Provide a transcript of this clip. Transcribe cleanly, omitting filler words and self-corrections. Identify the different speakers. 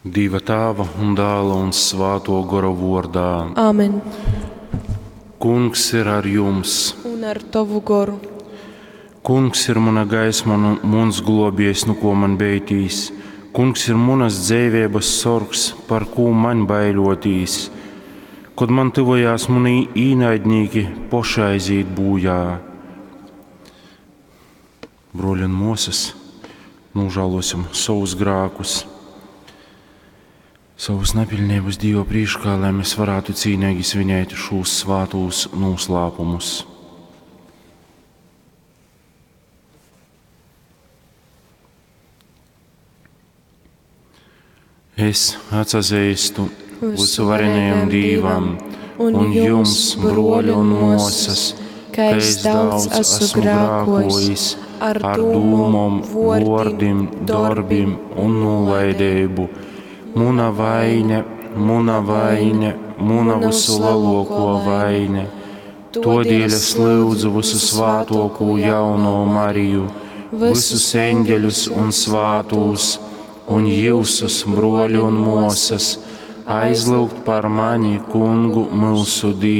Speaker 1: Dīva Tāva un Dāla un Svātuo Gora vuordā.
Speaker 2: Āmen.
Speaker 1: Kungs ir ar jums.
Speaker 2: Un ar tovu goru.
Speaker 1: Kungs ir muna gaisma un muns globiejs, nu ko man beitīs. Kungs ir munas dzeiveibas sorgs, par kū maņ baiļotīs. Kod man tyvojās muni īnaidnīki, poši aizīt būjā. Bruoļi un muosys, nožālosim savus grākus, savus nepiļnības Dieva prīškā, lai mēs varētu cīnīgi svinēt šos svātos noslēpumus. Es atsazīstu visuvarenajam Dīvam un jums, bruoļi un muosas, ka es daudz esmu grākojis ar dūmom, vuordim, dorbim un nolaidību. Muna vaine, muna vaine, muna visu lielāko vaine. Todēļ es lūdzu visu svātoko jauno Mariju, visus eņģeļus un svātūs, un jūsus, bruoļi un muosas, aizlūgt par mani, kungu mūsu Dievu.